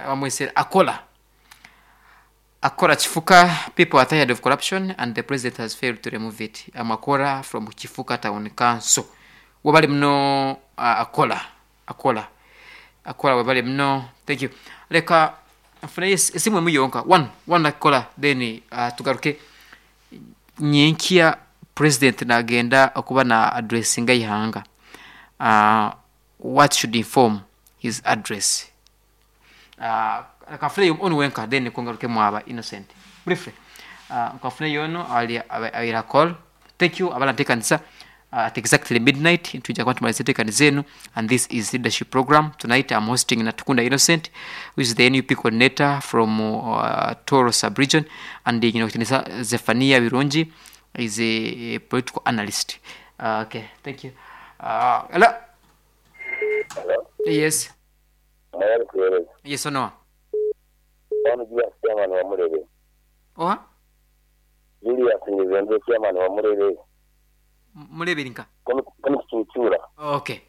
Bamwesere Akola. Akora Kifuka, people are tired of corruption and the president has failed to remove it. I'm Akora from Kifuka Town Council. Webale muno Akola. Akola. Akola webale muno. Thank you. Leka nfune esimu emu yonka. One, one Akola then tugaruke. Nyenkya president nagenda okuba na addressinga eihanga. What should inform his address? Leka nfuneyo onu wenka then nikwo ngarukemu aba Innocent. Briefly, nkanfuneyo onu abaire ha call. Thank you abaranteekanisa at exactly midnight nitwija kuba nitumariza enteekaniza enu and this is leadership program. Tonight am hosting Natukunda Innocent who is the NUP coordinator from Tooro sub region and nyine owekitiinisa Zephania Birungi is a political analyst. Okay, thank you. Hello? Hello? Yes. Mwoyo arikuheereza. Yes onoha? Onu Julius chairman wa Murebe. Oha? Julius Ngezembe chairman wa Murebe. Murebe eri nka? Kunu Kituutuura. Okay.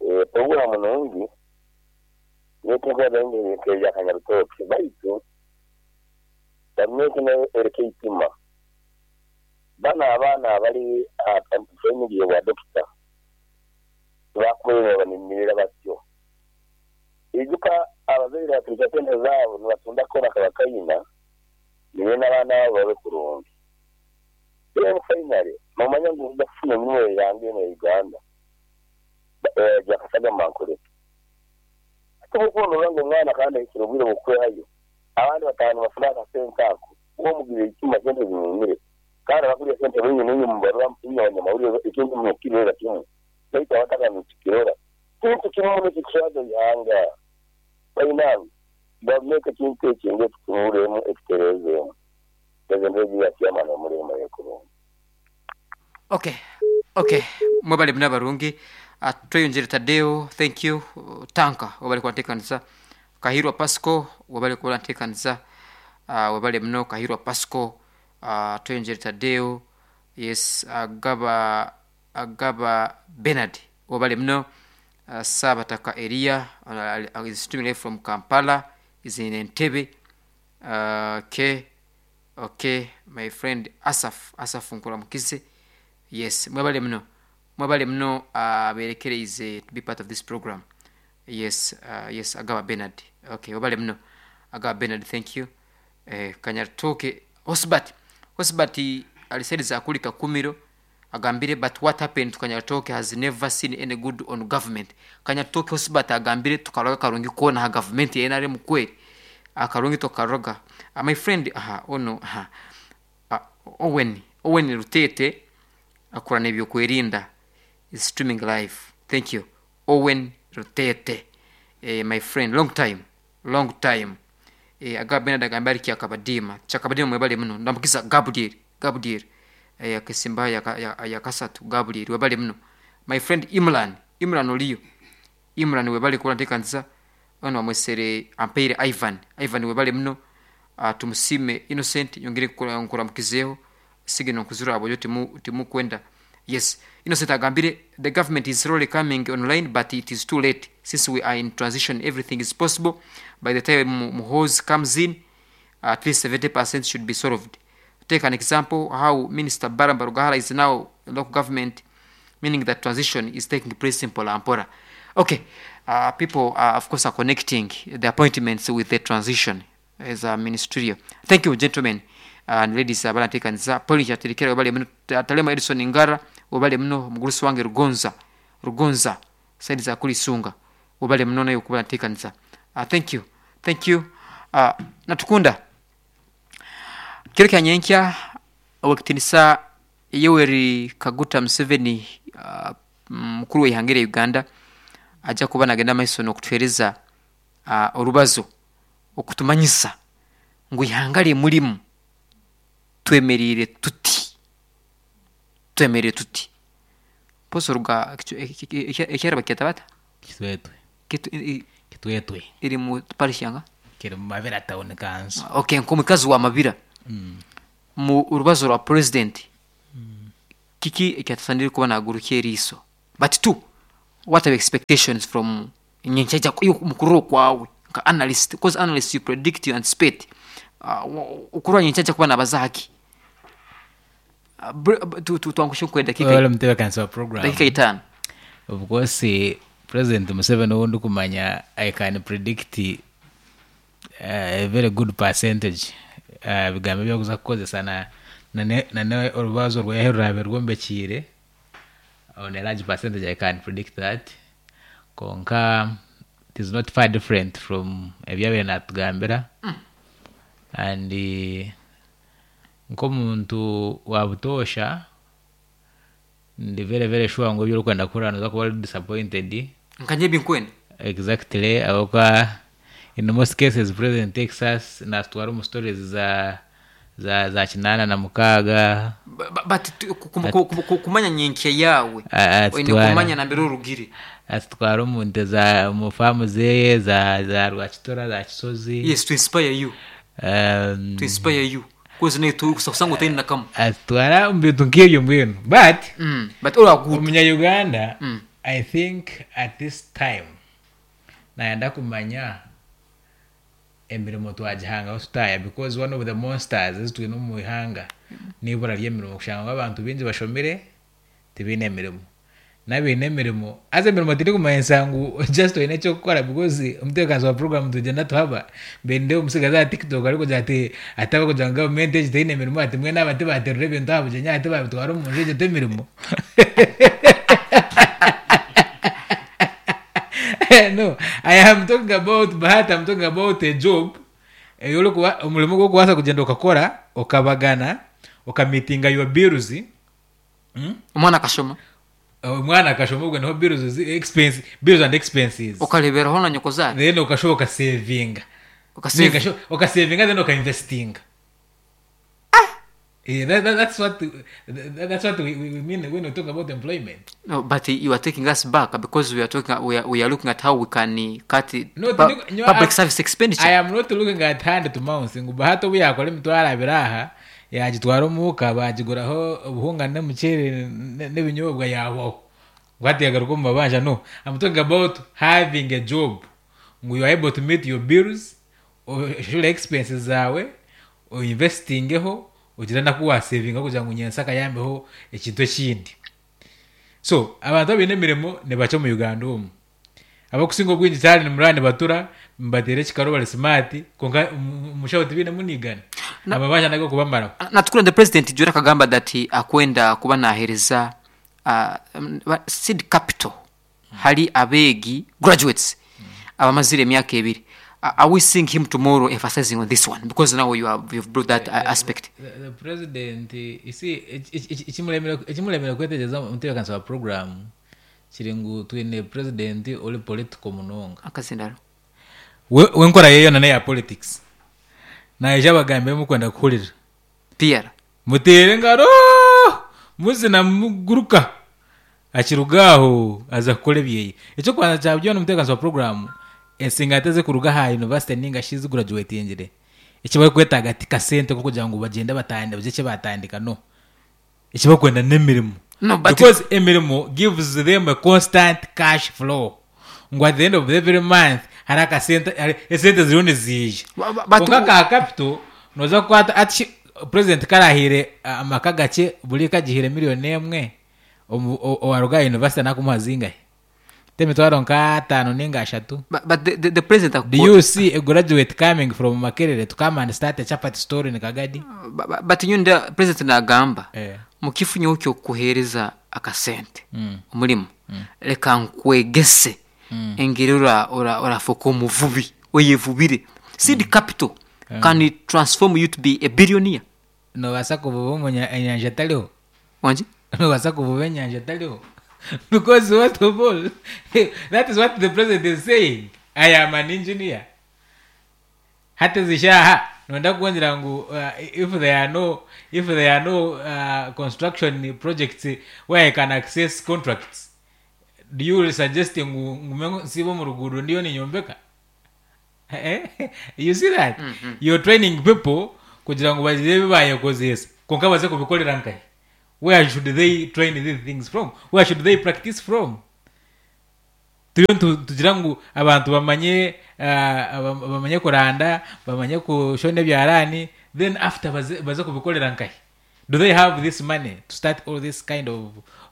Eh, program nungi nyowe tinkwenda bingi nk'ebya Kanyarutooke baitu gavumenti nayo ereke eitima. Banu abaana abali aha family y'obwa dokita tibakubaire nibabaninirira batyo. Ijuka abazaire baturukya sente zaabo nibatunda koona akabakaina nibenda abaana baabo babe kurungi. Then finally nomanya ngu noija kufuna emirimo y'eihanga enu eya Uganda egya kasagama nkoreki. Hati obu okuba norora ngu omwana kandi ahikire obwire bw'okwehayo abandi bataaha nibafuna akasente ako, iwe omugirira eitima sente zinyumire kandi abakurya sente baingi nainywe mubarora inywe abanyamawulire ekintu nimukirorera kimwe baitu abataka nitukirora. Kintu kibi muno ekirikuswaza eihanga. Bainange, gavumenti ekintu eki ngu ekitunuuremu ekitereezeemu. President w'egi ya chairman omurimo yekurungi. Ok ok mwebale muno abarungi Tweyongyere Tadeo thank you Tanka webale kuba ntekanisa Kahirwa Pascal webale kuba ntekanisa webale muno Kahirwa Pascal Tweyongyere Tadeo yes Agaba Agaba Bernard webale muno Ssabataka Eria is streaming live from Kampala is in Entebbe ok ok my friend Asaph Asaph nkuramukize yes mwebale muno mwebale muno aberekereize to be part of this program yes yes Agaba Bernard ok webale muno Agaba Bernard thank you eh, Kanyarutooke Hosbert Hosbert ali side za kuri Kakumiro Agambire but what happened to Kanyarutooke has never seen any good on government. Kanyarutooke Hosbert agambire tukaroga akarungi koona aha gavumenti ya nrm kweri akarungi tokaroga. My friend aha ono aha Owen Owen Rutete akora nebyokwerinda is streaming live thank you Owen Rutete my friend long time long time Agaba Bernard agambire ari Kyakabadiima Kyakabadiima mwebale muno Ndamukisa Gabriel Gabriel akesimba aha yakasatu Gabriel webale muno My friend Imran Imran oriyo Imran webale kuba notekanisa Onu bamwesere Ampaire Ivan Ivan webale muno Tumusiime Innocent nyongire nkuramukizeho Signal nkuzirora ahabw'ogira timukwenda Yes Innocent agambire The government is slowly coming online but it is too late since we are in transition everything is possible by the time Muhoozi comes in at least 70 percent should be solved take an example how minister Balaam Barugahara is now in local government meaning that transition is taking place mpola mpora ok people are of course are connecting the appointments with the transition as a ministerial thank you gentlemen and ladies abarantekanisa Pauline Kyaterekera webale muno Talema Edison Ngara webale muno omugurusi wange Rugonza Rugonza side za Kulisunga webale muno naye okuba natekanisa thank you thank you Natukunda kiro kya nyenkya Owekitinisa Yoweri Kaguta Museveni mukuru w'eihanga erya Uganda aja kuba nagenda maiso n'okutuhereza orubazo okutumanyisa ngu eihanga rye murimu twemereire tuti twemereire tuti mpozi oruga ekyaro bakyeta bata? Kitwetwe. Kitwetwe. Eri mu parish yanga? Kiri mu Mabira town council. Okay nk'omukazi wa Mabira mu rubazo rwa president kiki ekyatasanire kuba nagurukya eriiso? But two what are your expectations from. Nyenkya omu kurora okwawe nka analyst, because analyst you predict, you anticipate. Okurora nyenkya ajja kuba nabaza haki? Twangushye nko edakiika Webale mutebeekanisa wa program. Dakiika itaano. Of course President Museveni ou ndikumanya I can predict a very good percentage aha bigambo ebi arikuza kukozesa na na orubazo rweye oruraabe rwombekiire on a large percentage I can predict that kwonka it is not far different from ebi yabaire natugambira and nk'omuntu wa butoosha ndi very very sure ngu ebi orikwenda kuhurira nooza kuba ori disappointed. Nka nyowe ebi nkwenda. Exactly ahabw'okuba in most cases president takes us natutwara omu stories za za za kinaana na mukaaga. But kumanya nyenkya yaawe oine kumanya nambere orugire. Atutwara omu nte za omu faamu zeeye za za Rwakitura za Kisozi. Yes, to inspire you. To inspire you. Because naitwe kusanga otaine na kamwe. Atutwara omu bintu nk'ebyo mbwenu but But all are good. Omunya-Uganda I think at this time nayenda kumanya emirimo twagihangaho tutaaya because one of the monsters ezi twine omu ihanga n'eibura ry'emirimo kushanga ngu abantu baingi bashomire tibaine mirimo n'abaine emirimo haza emirimo terikumanyisa ngu just oine eky'okukora because omutebeekanisa wa puroguraamu nitugyenda tuhaba mbwenu omutsigazi aha tiktok arikugira ati ati abarikugira ngu gavumenti egi teine mirimo ati mbwenu aba tibaterura ebintu aha bugyenyi aha tibabitwara omu nju egyo t'emirimo no I am talking about bahati I'm talking about a job ei orikuba omurimo ogu orikubaasa kugyenda okakora okabagana okamiitinga your bills Omwana akashoma. Omwana akashoma obwo niho bills zi expense bills and expenses. Okareeberaho na nyokozaara. Then okashuba okasevinga. Okasevinga. Ninga shi okasevinga then okainvestinga. Eh, that, that, that's what that, that's what we, we, we mean when we talk about employment. No, but you are taking us back because we are talking we are, we are looking at how we can cut No, no, public I- service expenditure. I am not looking at hand to mouth ngu bahati obu yakora emitwaro abiri aha yaagitwara omuuka baagiguraho obuhunga n'omuceeri n'ebinyobwa yaabaho ngu hati yagaruka omu mabanja no I'm talking about having a job ngu you are able to meet your bills oshure expenses zaawe oinvestingeho ogire naku waasevingaho kugira ngu nyentsya akayambeho ekintu ekindi so abantu abaine emirimo nibakye omu Uganda omu Abakusinga obwingi kyahare nimuraba nibatura nibateera ekikaro bari smart kwonka omushaho tibainemu nigana. Amabanja n'ag'okubamaraho. Natukura the president jura akagamba that akwenda kuba nahereza seed capital hali abeegi graduates abamazire emyaka ebiri. Are we seeing him tomorrow emphasizing on this one because now you have you've brought that aspect. The president you see ekimuremire kwetegyereza omutebeekanisa wa program Kiri ngu twine president ori political munonga. Akazindaro. We we enkora ye yoona neya politics. Naija abagambira ebi murikwenda kuhurira. PR. Muteera engaro muzina muguruka. Akiruga aho aza kukora ebyeye. Eky'okubanza kya byona omutebeekanisa wa puroguraamu ensinganto ezirikuruga aha yunivasite ninga shi ezigurajuwetingire eki barikwetaaga ti kasente k'okugira ngu bagyende batandike bagire eki baatandika no. Eki barikwenda n'emirimo. No, but Because emirimo gives them a constant cash flow. Ngu at the end of every month hariho akasente hari esente ziriyo niziija. But Kwonka ka capital nooza kukwata hati shi president ku araahaire amaka gakye buri ka agihaire million emwe, omu owaaruga aha university naakumuha zingahi? T'emitwaro nka ataano ninga ashatu? But the president Do you see a graduate coming from Makerere to come and start a chapati store in Kagadi? But nyowe nda president nagamba Eh. mukifo nyowe ky'okukuheereza akasente omurimo reka nkwegese engeri ora ora orafooka omuvubi oyevubire seed capital can transform you to be a billionaire. Nobaasa kuvuba omunya enyanja etariho? Wangi? Nobaasa kuvuba enyanja etariho? Because first of all, that is what the president is saying. I am an engineer. Hati ezi shaaha noyenda kungira ngu if there are no if there are no construction projects where I can access contracts, do you suggest ngu ngume nsiibe omu ruguudo ndiyo ninyombeka? You see that? You're training people kugira ngu bagire ebi baayekozeesa kwonka baze kubikorera nkahi? Where should they train these things from? Where should they practice from? Turiyo nitugira ngu abantu bamanye bamanye kuranda, bamanye kushona ebyaraani then after baze baze kubikorera nkahi? Do they have this money to start all this kind of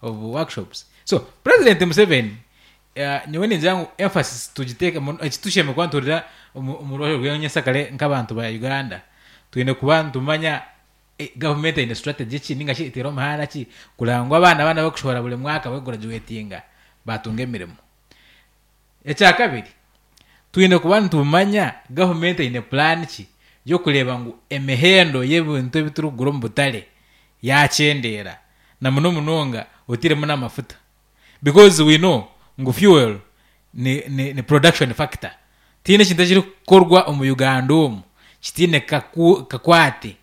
of workshops? So president Museveni nyowe ningira ngu emphasis tugiteeke eki tushemereire kuba nituhurira omu omu rubaju rw'enyesakare nk'abantu ba Uganda, twine kuba nitumanya Gavumenti eine strategy ki ninga shi eteire omuhanda ki kureba ngu abaana baana abakushohora buri mwaka barikugurajuwetinga batunga emirimo? Ekyakabiri, twine kuba nitumanya gavumenti eine puraani ki y'okureeba ngu emihendo y'ebintu ebi turikugura omu butare yaakyendeera na muno munonga oteiremu n'amafuta because we know ngu fuel ni ni ni production factor. Tihaine ekintu ekirikukorwa omu Uganda omu kitaine kaku kakwate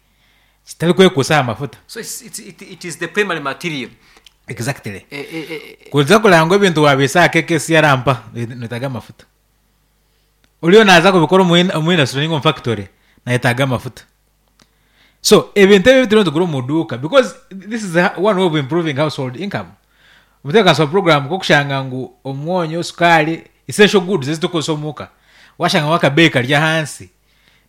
kitarikwekuusa aha mafuta. So it's, it's, it, it is the primary material. Exactly. Eh, eh, eh, Kuza kureba ngu ebintu waabiisa aha KKC arampa noyetaaga amafuta. Oriyo naaza kubikora omu omu industry ninga omu factory nayetaaga amafuta. So ebintu ebi ebituriyo nitugura omu duuka because this is one way of improving household income. Omutebeekanisa wa puroguraamu ku orikushanga ngu omwonyo, sukaari, essential goods ezi turikukozesa omuka waashanga ngu akabeeyi kari ahansi,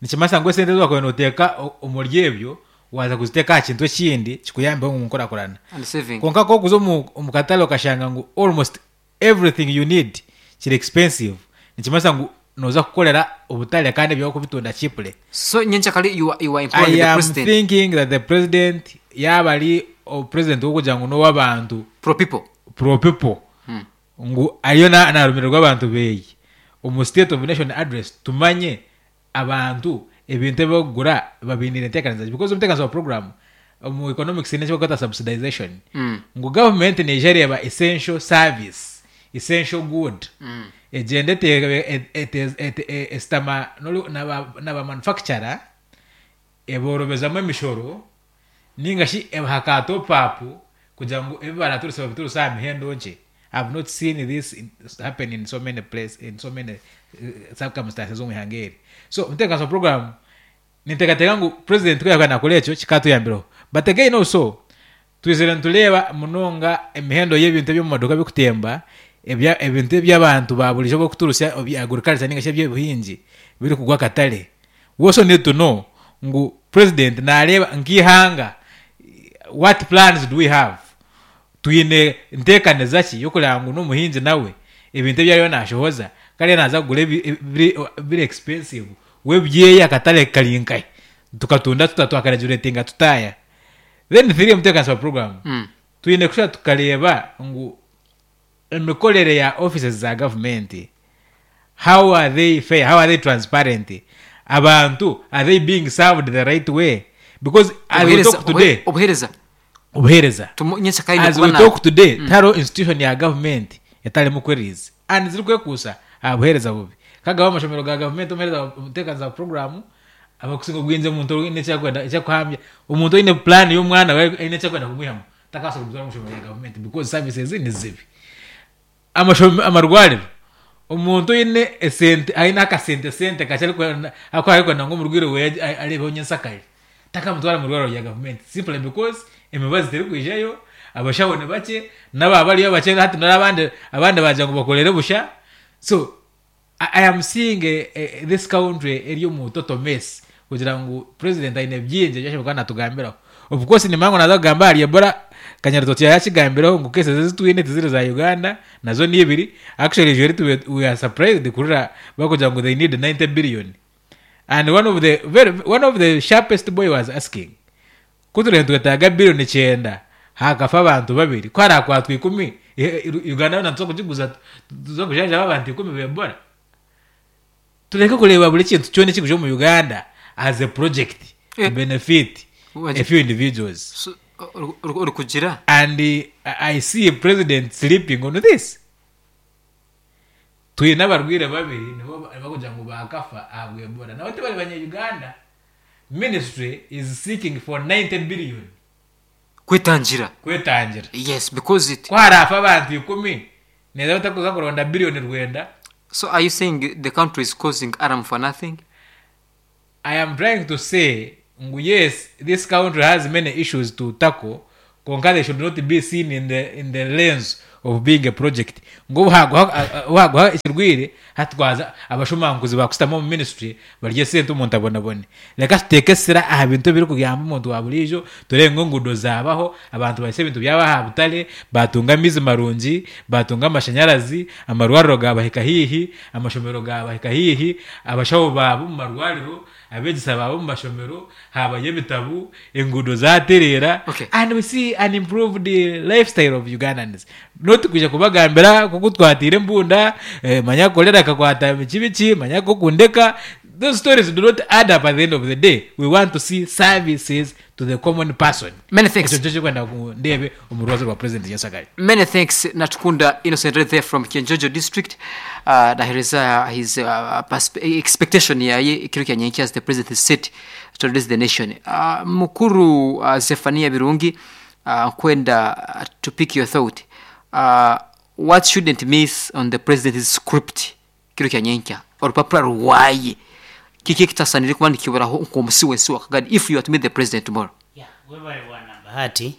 nikimanyisa ngu esente ezi waakubaire nooteeka omuri ebyo waaza kuziteeka aha kintu ekindi kikuyambeho omu nkurakurana. And saving. Kwonka ku orikuza omu katare okashanga ngu almost everything you need kiri expensive, nikimanyisa ngu nooza kukorera obutare kandi ebyawe orikubitunda cheaply. So nyenkyakare you are, you are imploring I the am president thinking that the president yaaba ari president w'okugira ngu n'ow'abantu pro people. pro people ngu ariyo na- narumirirwa abantu beye omu state of nation address tumanye abantu ebintu ebi barikugura babiiniire enteekanisa ki because omuteekanisa wa program omu economics haine eki barikweta subsidization ngu government neija ereeba essential service essential good egyende eteebe ete- ete- e- esitama n'ori- naba naba manufacturer eboorobezamu emishoro Ninga shi ebaha ka top up kugira ngu ebi baraturuse babituruse aha mihendo nkye. I have not seen this happen in so many place in so many circumstances omu ihanga eri. So omutebeekanisa wa program ninteekateeka ngu president ku yaakuba naakora ekyo kikaatuyambireho. But again also twizire nitureeba munonga emihendo y'ebintu eby'omu maduuka birikutemba, ebya ebintu eby'abantu ba buriijo barikuturusya ebya agriculture ninga shi eby'obuhingi birikugwa akatare. We also need to know ngu president nareeba nk'eihanga what plans do we have? Twine nteekaniza ki y'okureeba ngu n'omuhingi nawe ebintu ebi ariyo nashohoza kare naaza kugura ebiri expensive we ebyeye akatare kari nkahi? Tukatunda tuta twakaregulatinga tutaaya? Then three omuteekanisa wa program twine kushuba tukareeba ngu Emikorere ya offices za gavumenti, how are they fair, how are they transparent, abantu are they being served the right way because as we Obuheereza talk today obuheereza obuheereza tumu nyenkyakare aine as kuba we na talk today tihariho institution ya gavumenti etarimu queries and zirikwekuusa aha buheereza bubi kagaba amashomero ga gavumenti omuheereza wa omuteekaniza wa puroguraamu abakusinga obwingi omuntu oine eki arikwenda eki arikuhambya omuntu oine puraani y'omwana we aine eki arikwenda kumwihamu takabaasa kumutwara omu ishomero rya gavumenti because services ni zibi. Amashome amarwariro, omuntu oine esente aine akasente sente kakye arikwenda akuba arikwenda ngu omurwaire weye areebeho nyensakare, takamutwara omu irwariro rya gavumenti simply because emibazi terikwijayo, abashaho ni bakye, n'aba bariyo bakye hati n'abandi abandi baagira ngu bakorere busha, so I am seeing this country eri omu total mess kugira ngu president aine bingi ebi ashemereire kuba natugambiraho. Of course nimanya ngu naza kugamba ahari Ebola, Kanyaritoto yakigambireho ngu cases ezi twine tiziri za Uganda nazo ni ibiri, actually ijwe eri we are surprised kuhurira barikugira ngu they need 90 billion and one of the very one of the sharpest boy was asking Ku turiyo nitwetaaga biriyoni kyenda haakafa abantu babiri, ku haraakwatwa ikumi, Uganda yoona nituza kugiguza tuze kujanjaba abantu ikumi ba Ebola? Tureke kureeba buri kintu kyona ekirikuja omu Uganda as a project to benefit a few individuals. So, orikugira? And I see president sleeping on this. Twine abarwaire babiri nibo barikugira ngu baakafa ahabwa Ebola nabo tibari banya Uganda. Ministry is seeking for 90 billion Kwetangira. kwetangira. Yes, because it. Ku haraafe abantu ikumi, neeza batakuza kuronda billion rwenda. So are you saying the country is causing alarm for nothing? I am trying to say ngu yes this country has many issues to tackle kwonka they should not be seen in the, in the lens of being a project ngu obu haaguha obu haaguha ekirwaire hati twaza abashomankuzi baakushutama omu ministry barye esente omuntu abonabone. Reka tuteeke esira aha bintu ebirikuyamba omuntu wa buriijo, tureebe ngu enguudo zaabaho, abantu bahitsye ebintu byabo aha butare, baatunga amaizi marungi, baatunga amashanyarazi, amarwariro gaabahika haihi, amashomero gaabahika haihi, abashaho baaba omu marwariro, abeegyesa baaba omu mashomero, haabayo ebitabu, enguudo zaatereera Okay. and we see an improved lifestyle of Ugandans. Not kwija kubagambira nk'oku twatiire embunda, eh, manya kolera ekakwata biki biki, manya nk'okundeka, those stories do not add up at the end of the day. We want to see services to the common person. Many thanks. Ekyo nikyo kirikwenda ngu ndeebe omu rubaju rwa President Nyenshakare. Many thanks Natukunda Innocent right there from Kyenjojo district nahereza his expectation yaye ekiro kya nyenkya as the president is set to address the nation. Mukuru Zephania Birungi nkwenda to pick your thought what shouldn't miss on the president's script ekiro kya nyenkya orupapura rwaye kiki ekitasanire kuba nikiburaho nk'omusi w'ensi wakagadi if you are to meet the president tomorrow? Yeah, webale bwana Bahati.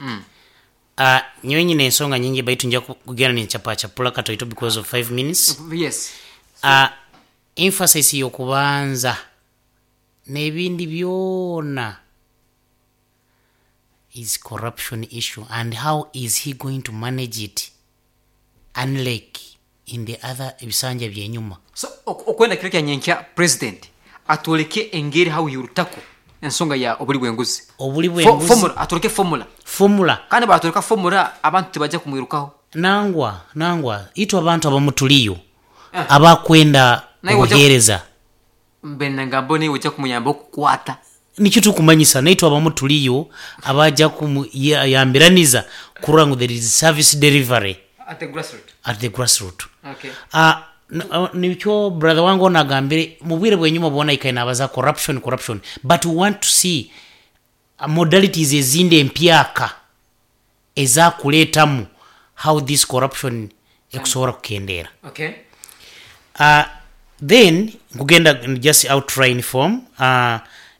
Nyowe nyine ensonga nyingi baitu nja kugenda ninchapachapula katoito because of 5 minutes. Yes. Emphasis y'okubanza n'ebindi byona is corruption issue and how is he going to manage it unlike in the other ebisanja byenyuma. So okwenda kiro kya nyenkya president atwoleke engeri how he will tackle ensonga ya obuli bw'enguzi. Obuli bw'enguzi. Formula, atwoleke formula. Formula. Kandi baatwoleka formula abantu tibaija kumwirukaho. Nangwa, nangwa, itwe abantu abamu turiyo abakwenda Naiwe oja obuheereza. Mbe nangamba naiwe oija kumuyambaho kukwata. Nikyo turikumanyisa naitwe abamu turiyo abaija kumuyambiraniza kurora ngu there is service delivery. At the grassroot. At the grassroot. Okay. Nikyo brother wange onu agambire, mubwire bwenyima bwona aikaire nabaza corruption, corruption but we want to see modalities ezindi empyaka ezakuretamu how this corruption ekusobora kukendeera. Okay. Then nkugenda just outline form,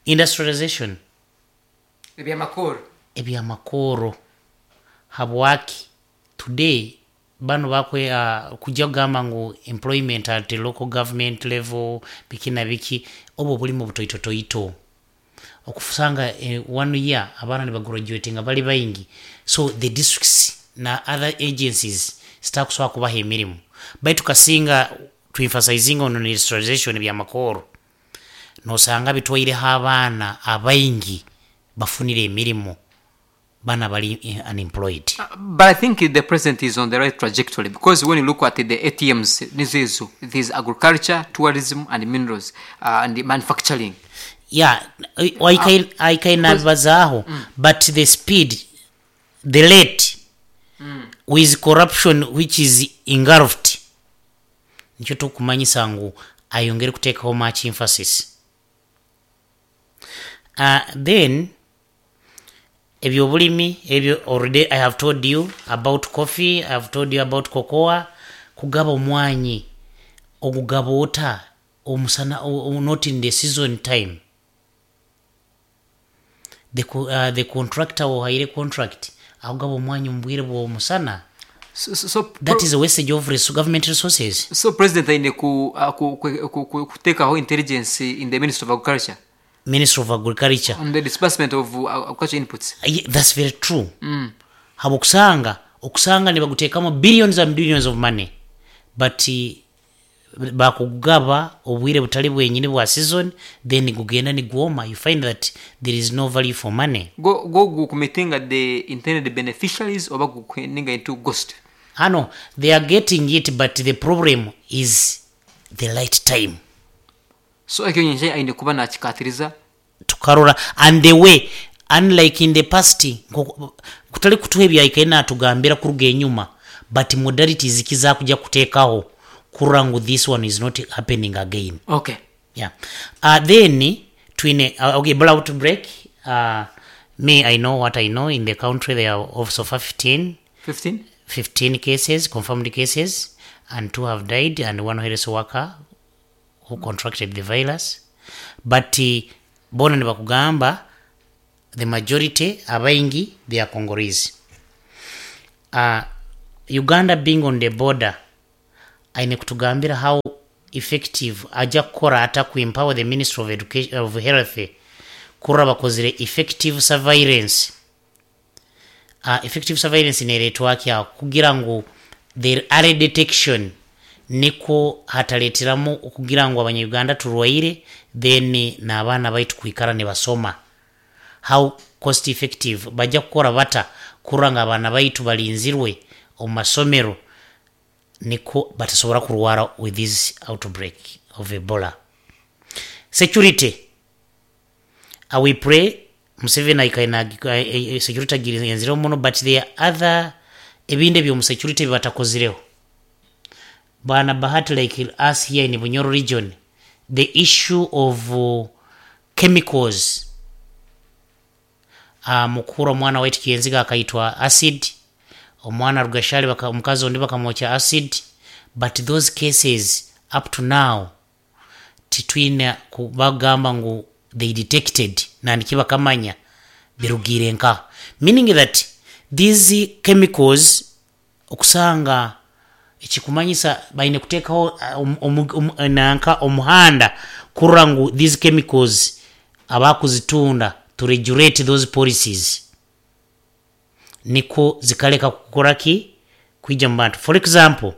industrialization. Ebyamakooro. Ebyamakooro. Habwaki today banu bakwe kujya kugamba ngu employment at local government level biki na biki, obwo oburimo butoitotoito. Okusanga one year abaana nibagraduatinga bari baingi, so the districts na other agencies zitakusobora kubaha emirimo. Baitu kasinga tu emphasizinga on industrialization ebyamakooro, nosanga bitwaireho abaana abaingi bafunire emirimo, bana bari unemployed. But I think the president is on the right trajectory because when you look at the ATMs, nizo ezo, it is agriculture, tourism and minerals and manufacturing. Yeah, aikaire nabibazaaho but the speed, the rate with corruption which is engulfed, nikyo turikumanyisa ngu ayongere kuteekaho much emphasis. Then eby'oburimi ebyo already I have told you about coffee, I have told you about cocoa, kugaba omwanyi ogugaba ota omusana not in the season time. The contractor ohaire contract akugaba omwanya omu bwire bw'omusana. That is a wastage of government resources. So president aine kuteekaho intelligence in the Ministry of Agriculture. Ministry of Agriculture. On the disbursement of agriculture inputs. Yeah, that's very true. Habw'okusanga, okusanga nibaguteekamu billions and billions of money but bakugaba obwire butari bwenyini bwa season then gugenda nigwoma, you find that there is no value for money. Go go gukumeetinga the intended beneficiaries oba gukuendinga into ghost? Hano they are getting it but the problem is the right time. So ekyo nyenkya aine kuba nakikatiriza. Tukarora and the way unlike in the past nkoku kutari kutuha ebi yaikaire natugambira kuruga enyuma but modalities ki zakuja kutekaho kurora ngu this one is not happening again. Okay. Yeah. Then twine okay, Ebola outbreak, me I know what I know in the country there are of so far 15. 15? 15 cases, confirmed cases, and 2 have died and 1 health worker who contracted the virus. But boona nibakugamba the majority abaingi they are Congolese. Uganda being on the border aine kutugambira how effective aja kukora ata ku empower the Ministry of Education of Health kurora bakozire effective surveillance. Effective surveillance neretwa ki aho kugira ngu the early detection nikwo hatareteramu okugira ngu abanya Uganda turwaire then n'abaana baitu kwikara nibasoma. How cost effective baja kukora bata kurora ngu abaana baitu barinzirwe omu masomero nikwo batasobora kurwara with this outbreak of Ebola. Security we pray Museveni aikaire na security agirenzireho muno but there are other ebindi ebyomu security ebibatakozireho. Bwana Bahati like us here in Bunyoro region the issue of chemicals Mukura omwana waitu Kyenziga akaitwa acid, omwana Rugashari omukazi ondi bakamwokya acid but those cases up to now titwine kubagamba ngu they detected nandiki bakamanya birugiire nkaha meaning that these chemicals Okusanga ekikumanyisa baine kutekaho nanka omuhanda kurora ngu these chemicals abakuzitunda to regulate those policies nikwo zikareka kukora ki kwija mu bantu. For example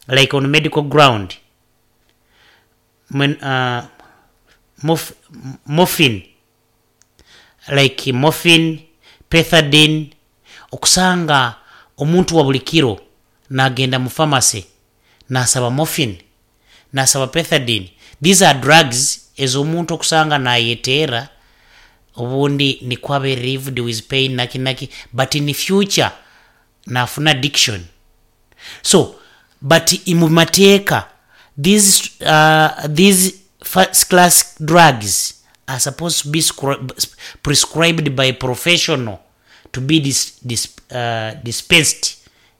like on medical ground morphine like morphine, pethidine, okusanga omuntu wa buri kiro nagenda mu pharmacy nasaba morphine, nasaba pethidine, these are drugs ezomuntu okusanga nayeteera obundi nikwo abe relieved with pain naki naki but in future nafuna addiction. So but mu mateeka these these first class drugs are supposed to be prescribed by professional to be dispensed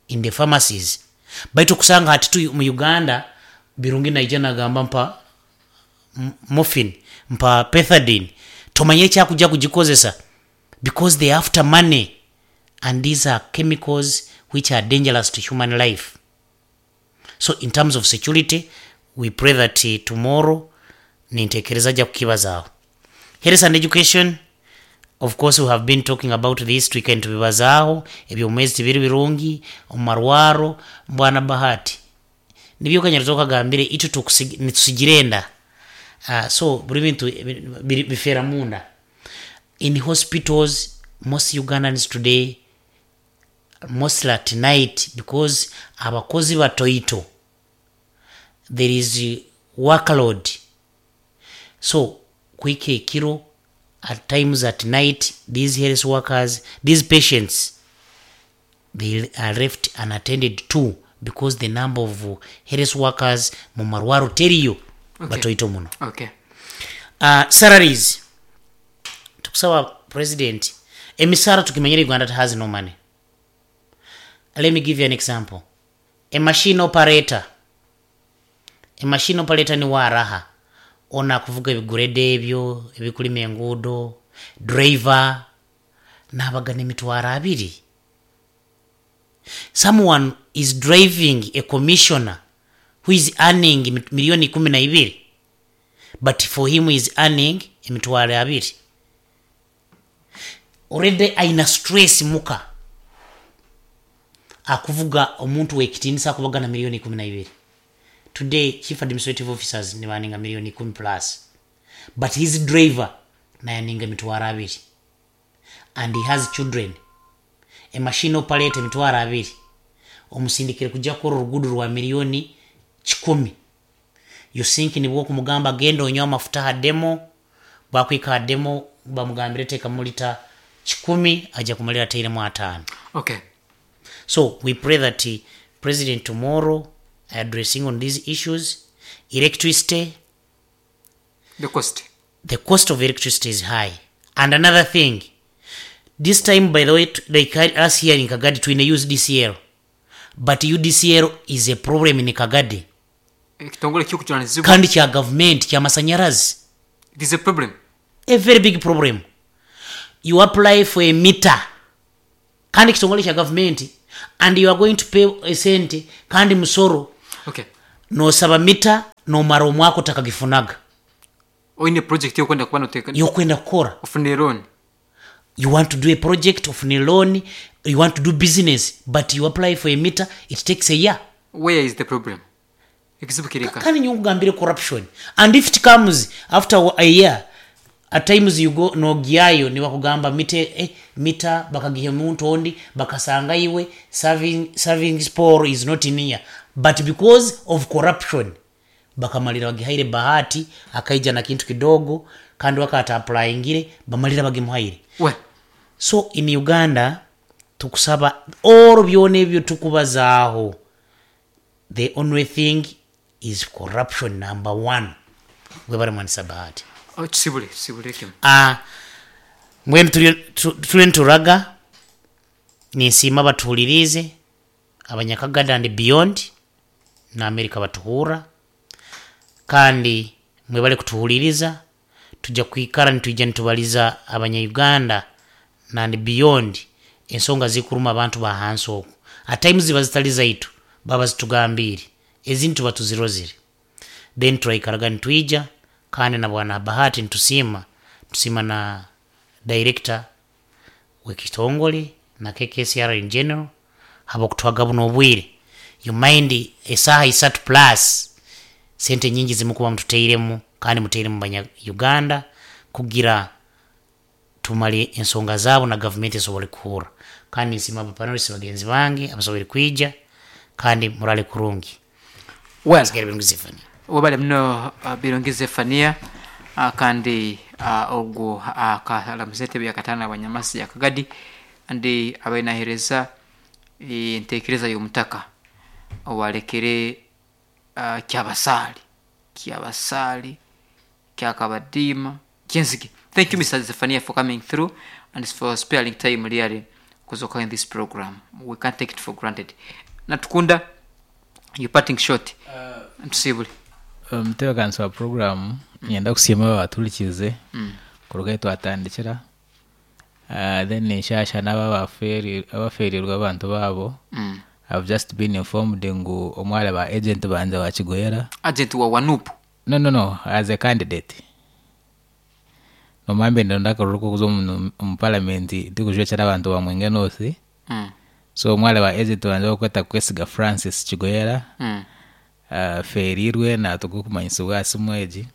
in the pharmacies baitu okusanga hati tu mu Uganda Birungi naija nagamba mpa morphine mpa pethidine tomanya ekyakuja kugikozesa because they after money and these are chemicals which are dangerous to human life so in terms of security we pray that tomorrow nintekereza aja kukibazaaho. Health and education of course we have been talking about this twikaire nitubibazaaho ebyomwezi tibiri birungi omu marwaro mbwana Bahati nibyo kanyarira okagambire itwe nitusigira enda so buri bintu bifeera munda In hospitals most Ugandans today mostly at night because abakozi batoito there is work load so kuhika ekiro at times at night these health workers these patients they are left unattended to because the number of health workers mumarwaro teriyo batoito muno. Okay. Salaries tukusaba president emisara tukimanyire Uganda has no money. Let me give you an example. A machine operator, a machine operator ni waraha ona akuvuga ebigureda ebyo ebikulima enguudo, driver nabagana emitwaro abiri. Someone is driving a commissioner who is earning milioni ikumi na ibiri but for him he is earning emitwaro abiri. Already aina stress muka akuvuga omuntu wekitinisa akubagana milioni ikumi na ibiri. Today chief administrative officers nibaninga milioni ikumi plus but his driver nayaninga emitwaro abiri and he has children. A machine operator emitwaro abiri omusindikire kuja kukora oruguudo rwa milioni kikumi. You think nibwo okumugamba genda onywe amafuta aha demo, bwakuhika aha demo bamugambire tekamu lita kikumi aja kumalira atairemu ataano. Okay. So we pray that president tomorrow addressing on these issues, electricity, The cost. The cost of electricity is high. And another thing, this time by the way, like us here in Kagadi twine UDCL, but UDCL is a problem in Kagadi. Ekitongole ekirikujunanizibwa. Kandi kya government kyamasanyarazi. It is a problem. A very big problem. You apply for a meter kandi ekitongole kya government. And you are going to pay esente kandi musoro. Okay. Nosaba mita nomara omwaka otakagifunaga. Oine project yokwenda kuba noteka Yokwenda kukora. Ofune loan. You want to do a project, ofune loan, you want to do business, but you apply for a meter, it takes a year. Where is the problem? Ekizibu kirika. Kandi nyowe nkugambire corruption. And if it comes after a year, at times you go nogyayo nibakugamba mite mita bakagiha omuntu ondi bakasanga iwe serving pole is not near, but because of corruption bakamalira bagihaire Bahati akaija na kintu kidogo kandi wakata applyingire bamalira bagimuhaire. We. So in Uganda tukusaba all byona ebyo tukubazaaho, the only thing is corruption number one. Webare mwanisa Bahati. Oh, kisibule, kisibule kimu. Mbwenu turiyo nituraga, ninsiima abatuhuririize abanyakagada and beyond na America batuhurra, kandi mwebale kutuhuririza. Tujja kwikara nitwija nitubaliza abanya-Uganda and beyond ensonga zikuruma abantu ba hansi oku. At times ziba zitali zaitu, baba zitugambiire, ezindi tuba tuzirozire, then turaikaraga nitwija. Kandi na bwana Bahati nitusiima, tusiima na director wekitongole na KKCR in general habwokutwaga buno obwire. You mind esaaha isatu plus sente nyingi zimukuba mututeiremu, kandi muteiremu banya Uganda kugira tumale ensonga zaabo na gavumenti esobole kuhurra. Kandi nsiima abapanelist bagenzi bange abasobole kwija, kandi murale kurungi. Well, Sigara Birungi Zephania. Webale muno Birungi Zephania, kandi ogwo akalamuza entebe yakataano abanyamasi yakagadi andi abainahereza entekereza y'omutaka owalekere kyabasaali kyabasaali kyakabadiima kyenzige. Thank you, Mr. Zephania, for coming through and for sparing time really kuzoka in this program. We can't take it for granted. Natukunda, you parting shot. Ntusibule. Omutebeekanisi wa program, niinyenda kusiima abaaturikize kuruga ahi twatandikira. Then nshasha n'abo abafeerirwe abantu baabo. I've just been informed ngu omwe ahari ba agent bangye wa Kigoyera. Agent wa Wanupu? No, no, no, as a candidate. Nomanya mbe ndonda akaruru k'okuza omu parliament tikujwekyera abantu ba Mwenge North. So omwe ahari ba agent bangye barikweta Kwesiga Francis Kigoyera afeerirwe naatuga okumanyisibwa aha simu egi.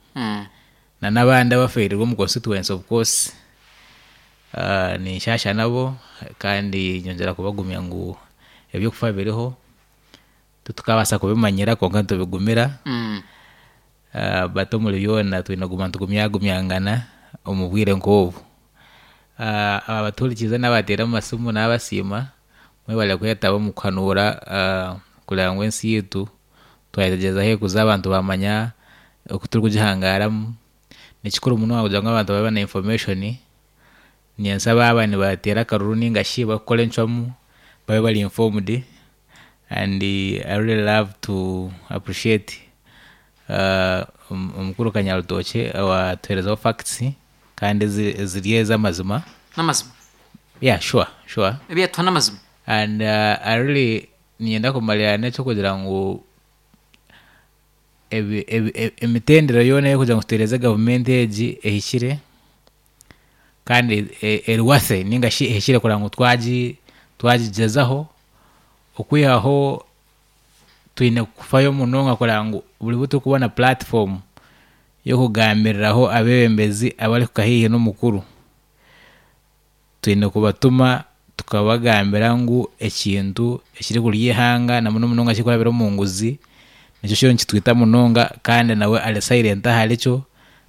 Na n'abandi abafeerirwe omu constituency, of course, ninshasha nabo kandi nyongyera kubagumya ngu ebyokufa biriho, titukabaasa kubimanyira kwonka nitubigumira. But omuri byona twine kuguma nitugumyagumyangana omu bwire nk'obu. Abatuhurikiize n'abateire amasimu naabasiima, mwebare kwetaba omu kuhanuura kureba ngu ensi yaitu twayetegyereza ahu erikuza abantu baamanya oku turikugihangaaramu. Ni kikuru munonga kugira ngu abantu babe na information, nyentsya baaba nibateera akaruru ninga shi barikukora encwamu babe bari informed. And I really love to appreciate omukuru Kanyarutookye owatuheerezaho facts kandi eziri ez'amazima. N'amazima? Yeah, sure. Ebi yatuha n'amazima? And I really niinyenda kumarira n'eky'okugira ngu emitendera yoona ey'okugira ngu tutereeze gavumenti egi ehikire kandi eri worthy ninga shi ehikire kureba ngu twagigyezaho okwihaho twine kufayo munonga kureba ngu buri bu turikubona platform y'okugambiriraho abeebembezi abarikuhika haihi n'omukuru, twine kubatuma tukabagambira ngu ekintu ekirikurya eihanga na muno munonga ekirikurabira omu nguzi nikyo kiriyo nikitwita munonga kandi nawe ari silent aharikyo.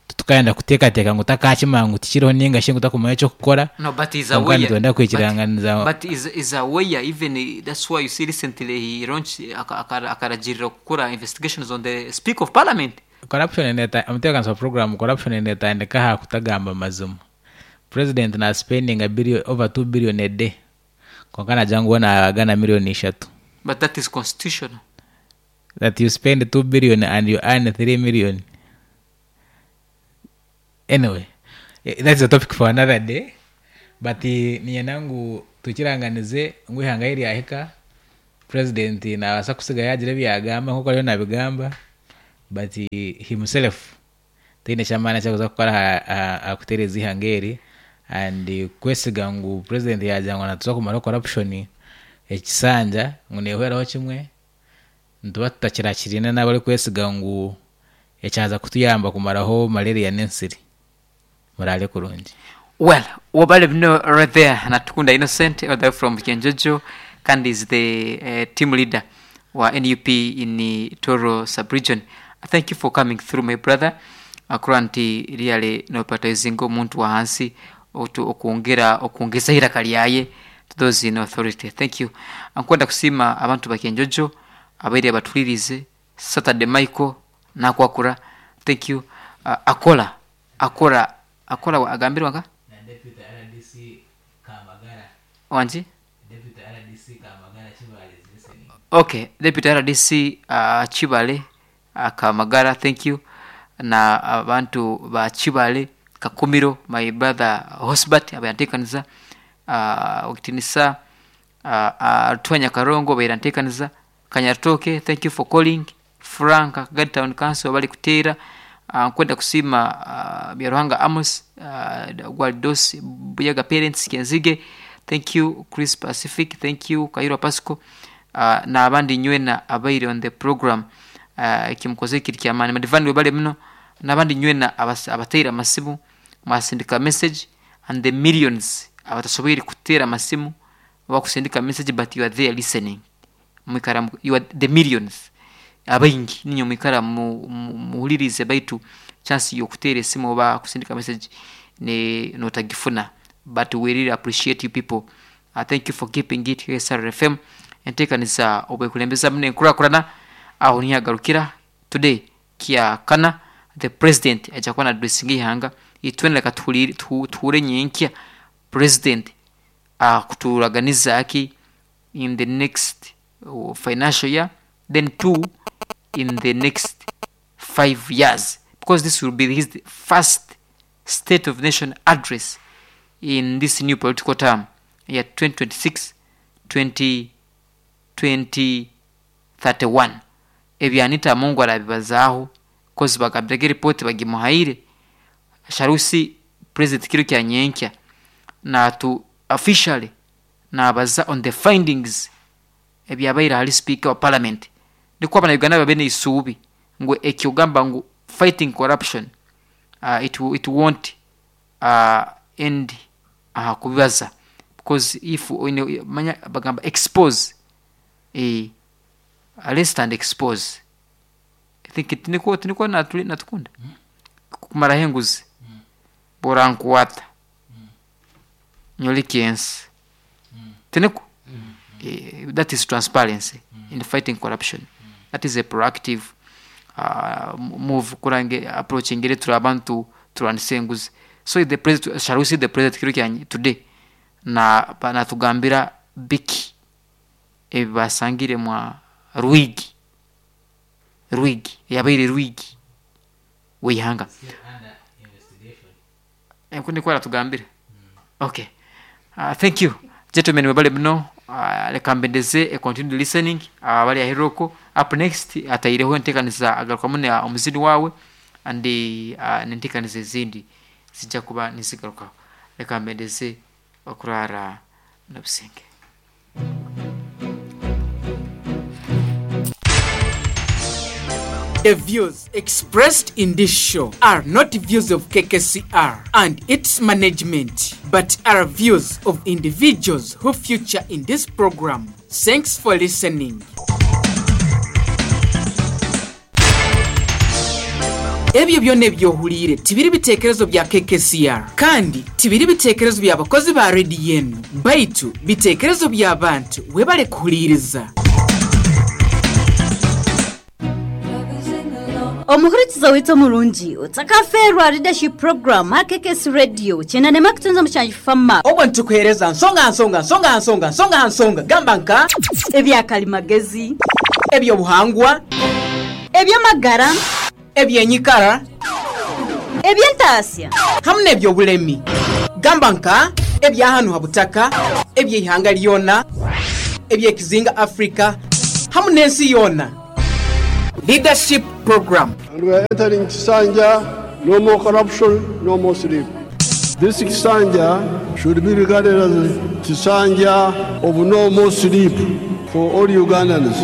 Titukayenda kuteekateeka ngu takaakimanya ngu tikiriho ninga shi ngu takumanya eky'okukora. No, but he's Kwonka aware. nitwenda kwikiranganiza. But is aware even that's why you see recently he launched akaragirira kukora investigations on the Speaker of Parliament. Corruption omutebeekanisa wa program, corruption neetandika aha kutagamba mazima. President na spendinga billion, over 2 billion a day kwonka nagira ngu we naagana million ishatu. But that is constitutional. That you spend 2 billion and you earn 3 million. Anyway, that's a topic for another day. But niinyenda ngu tukiranganize ngu eihanga ahi ryahika. President nabaasa kusiga yagira ebi yagamba nk'oku ariyo nabigamba but himself taine ky'amaani eki arikuza kukora aha kutereeza eihanga eri and kwesiga ngu president yagira ngu natuza kumaraho corruption ekisanja ngu nehweraho kimwe nituba tutakirakiriine n'abarikwesiga ngu ekyaza kutuyamba kumaraho malaria n'ensiri. Muraare kurungi. Well, wabale bino right there Natukunda Innocent all the way from Kyenjojo kandi is the team leader wa NUP in Toro sub-region. Thank you for coming through my brother. Akurora nti really nopriotizinga omuntu wa hansi otu okwongera okwongeza iraka lyaye to those in authority. Thank you. Nkwenda kusiima abantu ba Kyenjojo abaire batuhuririze Saturday Michael nakwakura. Thank you. Akola akora akora agambirwa nka? Na Deputy RDC Kamagara. Wangi? Deputy RDC Kamagara Kibale is listening. Ok, Deputy RDC Kibale Kamagara thank you na abantu ba Kibale Kakumiro my brother Hosbert abaire antekaniza Okitinisa Rutwanya Karongo abaire antekaniza Kanyarutooke thank you for calling Frank Kagadi Town Council webale kuteera Nkwenda kusiima Byaruhanga Amos Gwalidos Buyaga Parents Kenzige thank you Chris Pacific thank you Kayirwa Pascal n'abandi nywena abaire on the program ekimukozire kiri kyamaani Madivani webale muno n'abandi nywena abateire amasimu mwasindika message and the millions abatasoboire kuteera amasimu oba kusindika message but you are there listening mwikara you are the millions abaingi niinywe mwikara muhuliriize baitu chance y'okuteera esimu oba kusindika message notagifuna but we really appreciate you people thank you for keeping it here SRFM enteekaniza obwekulembeza muno enkurakurana aho niho yagarukira today kyakana the president aija kuba na addressinga eihanga itwena leka tuhure nyenkya president akuturaganiza ki in the next financial year then 2 in the next 5 years because this will be his first state of nation address in this new political term ya 2026 2031 Ebyo Anita Among arabibazaaho coz bagambirege report bagimuhaire shall we see president kiro kya nyenkya natu officially nabaza on the findings ebyabaire ahari speaker wa parliament nikwo abana Uganda babe neisuubi ngu ekyogamba ngu fighting corruption it, it won't end aha kubibaza because if oine manya bagamba expose eh, arrest and expose I think tinikwo tinikwo natukunda kumaraho enguzi borankwata nyoreke ensi tinikwo That is transparency in fighting corruption. That is a proactive move kurange approach engeri turi abantu turwanisa enguzi. So the president, shall we see the president kiro kya today na natugambira biki ebi basangire mwa Rwigi Rwigi eyabaire Rwigi w'eihanga. Oku nikwo aratugambira. Okay. Thank you gentlemen mwebale muno. Reka mbendeze a continued listening abari aheru okwo. Up next ataireho enteekaniza agarukamu na omuzini waawe and n'enteekaniza ezindi zija kuba nizigarukaho. Reka mbendeze okuraara n'obusinge. The views expressed in this show are not views of KKCR and its management, but are views of individuals who feature in this program. Thanks for listening. Ebyo byona ebi ohuliire tibiri bitekerezo bya KKCR kandi tibiri bitekerezo bya bakozi ba rediyo enu baitu bitekerezo by'abantu webale kuhuliiriza. Omuhurikiza waitu omurungi, otakafeerwa Leadership Program aha KKS Radio kyenda n'emwe mushanju Fama. Obwo nitukuheereza nsonga aha nsonga, nsonga aha nsonga, nsonga aha nsonga, gamba nka. Ebya karimagezi. Eby'obuhangwa. Eby'amagara. Eby'enyikara. Eby'entaasya. Hamwe n'eby'obulemi. Gamba nka, eby'ahanu ha butaka, eby'eihanga ryona. eby'ekizinga Africa hamu n'ensi yoona. Leadership Program. And we are entering Kisanja, no more corruption, no more sleep. This Kisanja should be regarded as Kisanja of no more sleep for all Ugandans.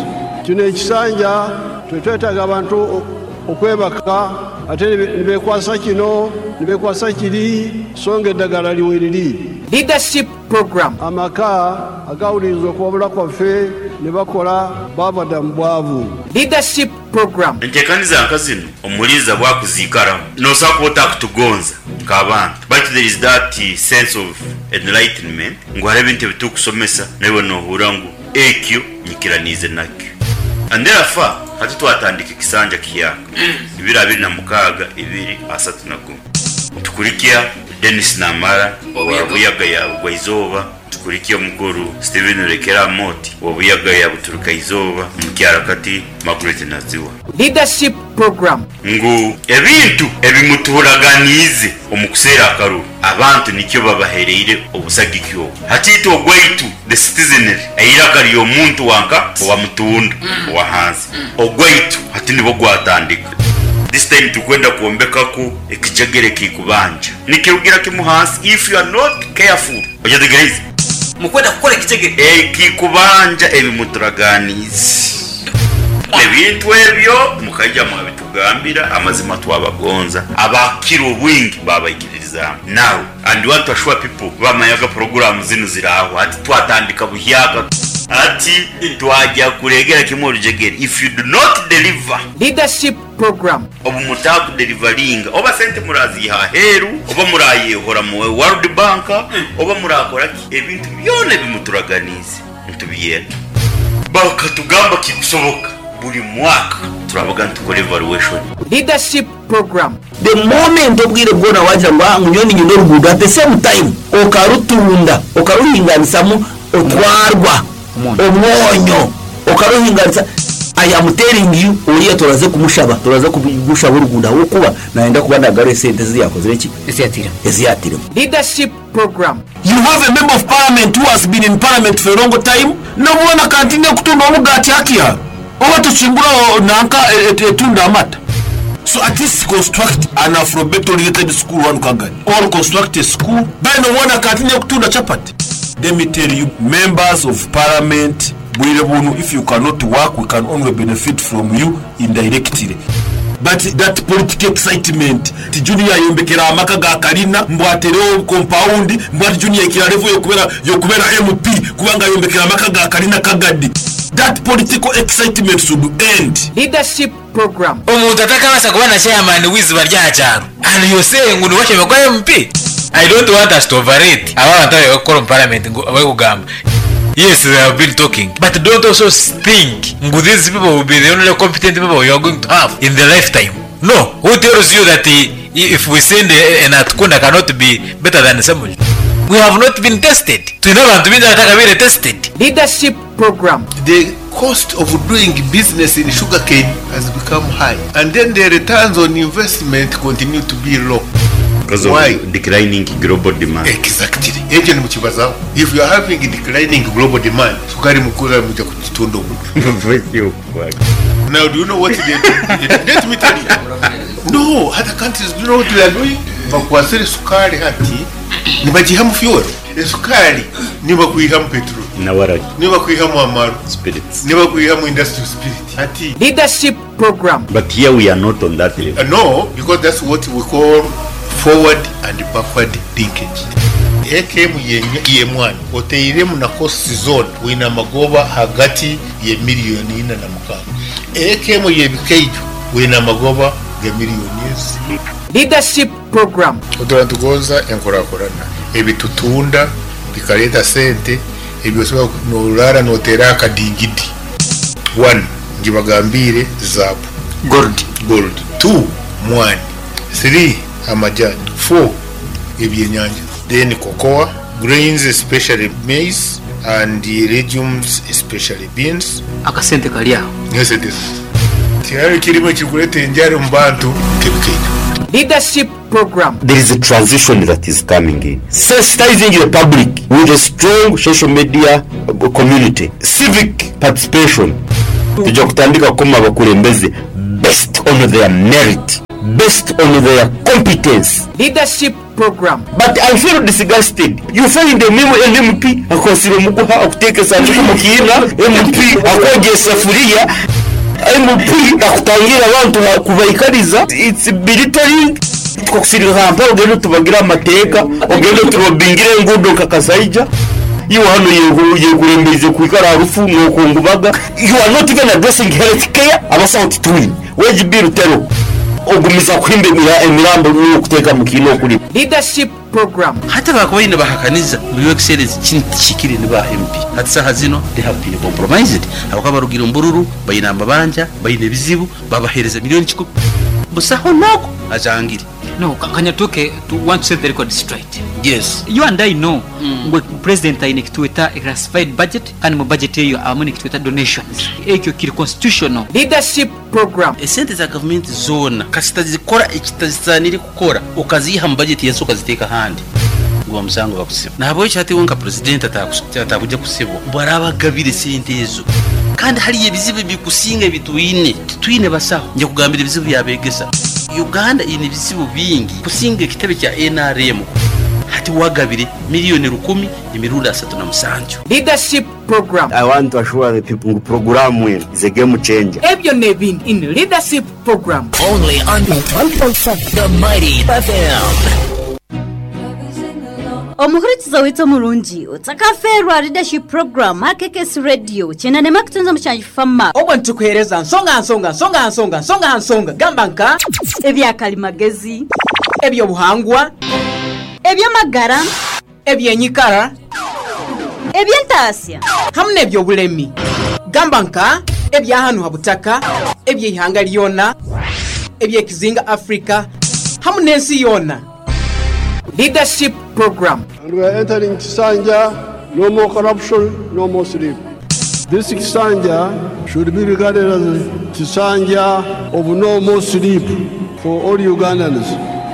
Kino ekisanja tetwetaaga abantu okwebaka ate nibekwasa kino nibekwasa kiri so nga eddagala liweriri. Leadership Program. Amaka agawuliriza okuwabula kwaffe ne bakola baava dda mu bwavu. Leadership Program. Entekaniza nka zinu omuhuliriza bwakuzikaramu nosobola kuba otakutugonza nk'abantu baitu there is that sense of enlightenment ngu hariho ebintu ebitukusomesa naiwe nohurra ngu ekyo nyikiraniize nakyo and therefore hati twatandika ekisanja kihyaka 2026 2031 nitukurikya Denis Namara owa Buyaga ya Bugwaizooba, nitukurikya omukuru Stephen Rekera Amooti owa Buyaga ya Buturukaizoba, Omukyarakati Margaret Naziwa. Leadership Program. Ngu ebintu ebimutuhuraganiize omu kuseera akaruru, abantu nikyo babahereire obusagiki obu. Hati itwe ogwaitu, the citizenry, eiraka ry'omuntu wanka owa mutunda owa hansi, ogwaitu hati nibwo gwatandika. This time turikwenda kwombekaku ekijegere ekikubanja. Nikirugira kimu hansi if you are not careful. Okyetegereize? Mukwenda kukora ekijegere. Ekikubanja ebi muturaganiize. Ebintu ebyo mukaija mwabitugambira, amazima twabagonza. Abakira obwingi babaikiririzaamu. Now and want to assure people bamanyaga puroguraamu zinu zirahwa hati twatandika buhyaka. Hati twagya kuregera kimwe orujegere if you do not deliver. Leadership Program. Obu mutaakudelivaringa oba sente muraziiha aheeru oba murayehora mu World Bank oba murakora ki, ebintu byona ebi muturaganiize nitubyenda. Bakatugamba kikusoboka buri mwaka turabaga nitukora evaluation. Leadership Program. The moment obwire bwona wagira ngu ah ngu nyowe niinyenda oruguudo at the same time okarutunda okaruhinganisamu otwarwa omwonyo okaruhinganisa I am telling you oriya turaze kumushaba turaza kumushaba oruguudo ahabw'okuba nayenda kuba nagarura esente ezi yakozire ki ezi yatiremu. Leadership Program. You have a member of parliament who has been in parliament for a long time nobwona continue kutunda omugaati hakia oba tokingura nanka etunda amata. So at least construct an alphabet oriented school wanu Kagadi or construct a school then nobwona continue kutunda chapati. Let me tell you members of parliament bwire bunu if you cannot work we can only benefit from you indirectly but that political excitement nti Junior ayombekere amaka ga kalina mbu aterewo compound mbu ati Junior ahikire level yokubera MP kubanga ayombekere amaka ga kalina Kagadi that political excitement should end. Leadership Program. Omuntu atakabaasa kuba na chairman w'eiziba ry'aha kyaro and you say ngu niwe ashemereire kuba MP? I don't want us to overrate aba abantu abarikukora omu parliament ngu abarikugamba yes they have been talking but don't also think ngu these people will be the only competent people you are going to have in the lifetime no who tells you that if we send an Atukunda cannot be better than Ssemuju we have not been tested twine abantu baingi abatakabaire tested. Leadership Program. The cost of doing business in sugarcane has become high and then the returns on investment continue to be low. Because of Why? declining global demand. Exactly. Ekyo nimukibazaho. If you are having declining global demand, sukari mukura muja kugitunda obubi. Now do you know what they do? Let me tell you. No, other countries do you know what they are doing? Bakwasire sukari hati nibagihamu fuel. Esukari nibakwihamu petrol. Na waragi. Nibakwihamu amaru. Spirits. Nibakwihamu industrial spirit. Hati Leadership Program. But here we are not on that level. No, because that's what we call forward and backward linkage. Eka emu y'emwani oteiremu na costs zoona wine amagoba hagati ye miliyoni ina na mukaaga. Eka emu y'ebikaijo wine amagoba ga miliyoni ezi. Leadership Program. Otura nitugonza enkurakurana, ebitutunda bikareeta sente, ebi osobola noraara noteera akadingidi. One, ngibagambiire zaabu. Gold. Gold. Two, mwani. Three, amajani. Four, ebyenyanja. Then cocoa, grains especially maize and legumes especially beans. Akasente kari aho. Nesente. Tihariho ekirimu ekirikureeta enjara omu bantu nk'ebikaito. Leadership. Program. There is a transition that is coming in. Sensitizing the public with a strong social media community, civic participation. Twija kutandika kukoma abakulembeze based on their merit, based on their competence. Leadership Program. But I feel disgusted, you find an MP akwatsire omuguha akuteeka esanduku omu kiina, MP akwogya esafuriya, MP akutangira abantu kubaikariza, it's belittling. Tukakusindika Kampala ogende otubagire amateeka, ogende oturobingire enguudo nka Kasaija, iwe hanu oyekurembeize kwikara aha rufu nokungubaga, you are not even addressing health care, abasaho titwine, wage bill teriho. Ogumiza kuhimba emirambo n'okuteeka mu kiina okurimu. Leadership Program. Hati abakubaire nibahakaniza ngu Your Excellency kinu tikihikire ni ba MP. Hati saaha zino they have been compromised ahabw'okuba barugire omu bururu, baine amabanja, baine ebizibu, babaheereza million kikumi. Busaho n'ogu ajangire. No, kanyatuke to want to set the record straight. Yes. You and I know ngu president aine ekitweta classified budget kandi mu budget eyo abamu nekitweta donations. Ekyo kiri constitutional. Leadership Program. Esente za gavumenti zoona kasita zikora ekitazisaaniire kukora okaziiha mu bajeti y'ensi okaziteeka ahandi, guba musango bakusiba. Nahabwekyo hati iwe nka purezidenti atakuja kusibwa obu araaba agabire esente ezo. Kandi hariyo ebizibu ebikusinga ebi twine. Titwine basaho. Nja kugambira ebizibu by'abeegesa. Uganda eine ebizibu bingi kusinga ekitebe kya nrm. Hati wagabire miriyoni rukumi emirundi 37. Leadership Program. I want to assure the people ngu puroguraamu enu is a game changer. Ebyo n'ebindi in Leadership Program. Only on 1.7 The Mighty FM. Omuhurikiza waitu omurungi, otakafeerwa Leadership Program aha KKS Radio kyenda n'emwe kutunza mushanju Fama. Obwo nitukuheereza nsonga aha nsonga, nsonga aha nsonga, nsonga aha nsonga, gamba nka. Ebya karimagezi. Eby'obuhangwa. Eby'amagara. Eby'enyikara. Eby'entaasya. Hamu n'eby'obulemi, gamba nka ebya hanu ha butaka, eby'eihanga lyona, eby'ekizinga Africa hamu n'ensi yoona. Leadership Program. And we are entering Kisanja, no more corruption, no more sleep. This Kisanja should be regarded as Kisanja of no more sleep for all Ugandans.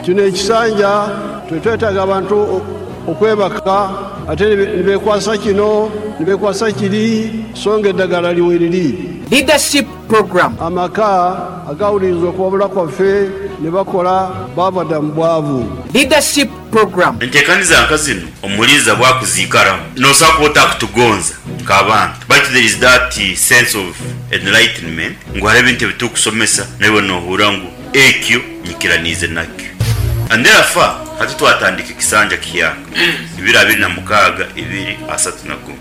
Kino ekisanja tetwetaaga abantu okwebaka ate nibekwasa kino nibekwasa kiri so nga eddagala liweriri. Leadership Program. Amaka agawuliriza okuwabula kwaffe ne bakola baava dda mu bwavu. Leadership Program. Enteekaniza nka zinu omuliiza bwakuziikaramu nosobola kuba otakutugonza nk'abantu baitu there is that sense of enlightenment ngu hariho ebintu ebitukusomesa naiwe nohuura ngu ekyo nyikiraniize nakyo. And therefore hati twatandika ekisanja kihyaka 2026 2031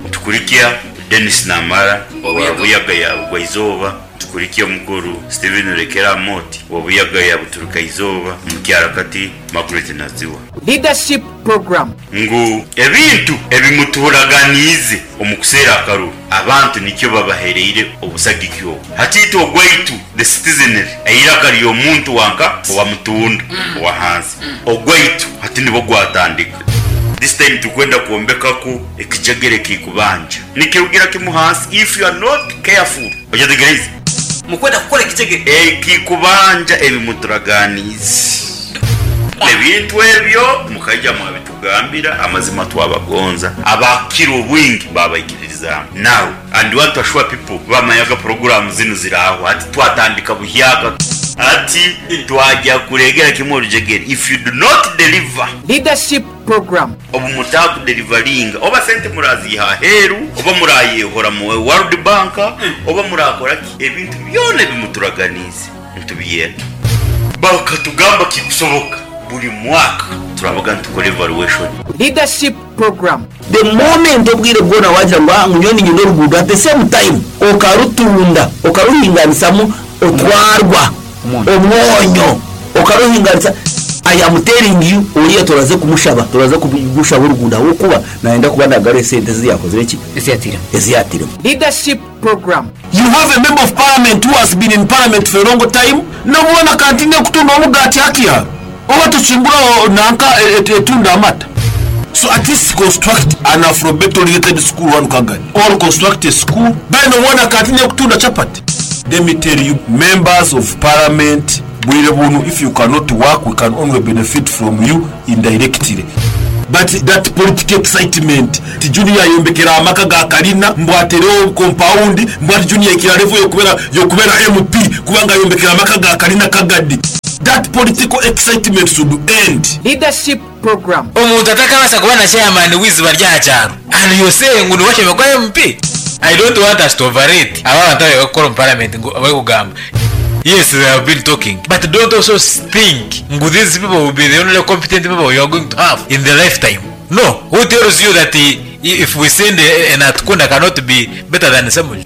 nitukurikya Denis Namara owa Buyaga ya Bugwa-izooba, nitukurikya omukuru Stephen Rekera Amooti owa Buyaga ya Buturuka-izooba, Omukyarakati Margaret Naziwa. Leadership Program. Ngu ebintu ebi mutuhuraganiize omu kuseera akaruru, abantu nikyo babahereire obusagiki obu. Hati itwe ogwaitu, the citizenry, eiraka ry'omuntu wa nka owa mutunda owa hansi, ogwaitu hati nibwo gwatandika. This time turikwenda kwombekaku ekijegere ekikubanja. Nikirugira kimu hansi if you are not careful. Okyetegereize? Mukwenda kukora ekijegere. Ekikubanja ebi muturaganiize. Ebintu ebyo mukaija mwabitugambira, amazima twabagonza, abakira obwingi babaikiririzaamu. Now and want to assure people bamanyaga puroguraamu zinu zirahwa hati twatandika buhyaka. Hati twagya kuregera kimwe orujegere if you do not deliver. Leadership Program. Obu mutaakudelivaringa oba sente muraziiha aheeru oba murayehora mu World Bank oba murakora ki, ebintu byona ebi muturaganiize nitubyenda. Bakatugamba kikusoboka buri mwaka turabaga nitukora evaluation. Leadership Program. The moment obwire bwona wagira ngu ah ngu nyowe niinyenda oruguudo at the same time okarutunda okaruhinganisamu otwarwa omwonyo okaruhinganisa I am telling you oriya turaze kumushaba turaza kumushaba oruguudo ahabw'okuba nayenda kuba nagarura esente ezi yakozire ki ezi yatiremu. Leadership Program. You have a member of parliament who has been in parliament for a long time nobwona kantine kutunda omugati hakia oba tokingura nanka etunda amata so at least construct an alphabet oriented school wanu kagani or construct a school then obwona kantine kutunda chapati let me tell you members of parliament Bwire bunu if you cannot work we can only benefit from you indirectly. But that political excitement nti Junior ayombekere amaka ga kalina mbu aterewo compound mbu ati Junior aikire aha level yokubera yokubera MP kubanga ayombekere amaka ga kalina kagadi. That political excitement should end. Leadership Program. Omuntu atakabaasa kuba na chairman w'eiziba ry'aha kyaro and you say ngu niwe ashemereire kuba MP? I don't want us to overrate aba abantu ababaire barikukora omu parliament ngu abarikugamba yes they have been talking but don't also think ngu these people will be the only competent people you are going to have in the lifetime no who tells you that if we send a Natukunda cannot be better than Ssemujju